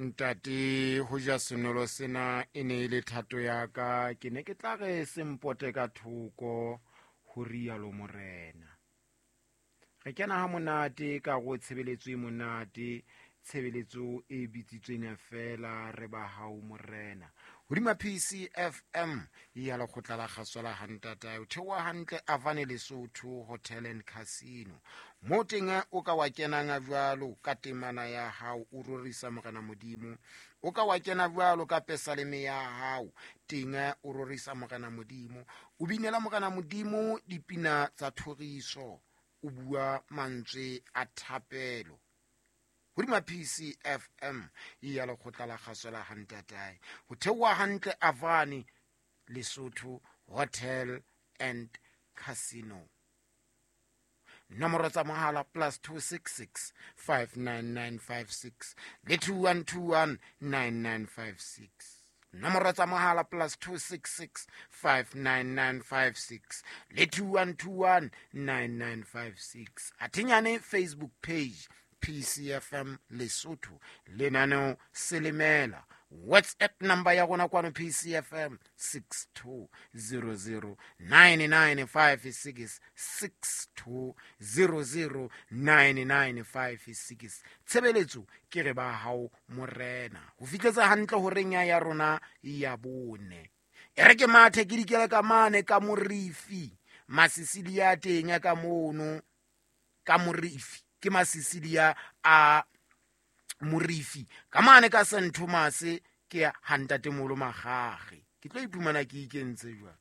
Ntate, ho ja senolo sena e ne e le thato ya ka, ke ne ke tla re se mpote ka thoko, ho rialo Morena. Re kena ha monate ka go tshebeletso e monate, tshebeletso e bitsitsweng feela re ba hao Morena. Hodima PCFM ya lekgotla la kgaso la hantatae, o theoha hantle Avane Lesotho Hotel and Casino. Mo teng o ka wa kenang jwalo ka temana ya hao, o rorisa Morena Modimo. O ka wa kena jwalo ka pesaleme ya hao, teng o rorisa Morena Modimo. O binela Morena Modimo dipina tsa thoriso, o bua mantswe a thapelo. Hodima PCFM ya lekgotla la kgaso la hantatae, ho theoha hantle Avane Lesotho Hotel and Casino. Nomoro tsa mohala +266 59956 le 2121 9956. Nomoro tsa mohala +266 59956 le 2121 9956. Athinyane Facebook page PCFM Lesotho, lenaneo Selemela. WhatsApp number ya rona kwano PCFM 62009956, 62009956. Tshebeletso ke re ba hao Morena. Ho fihletsa hantle horeng ya rona ya bone. E re ke mathe ke dikele ka mane ka morifi, masisilia teng ka mono ka morifi, ke masisilia a morifi ka mane ka Saint Thomas, ke hantatemolo magage. Ke tlo iphumana ke ikentse jwang.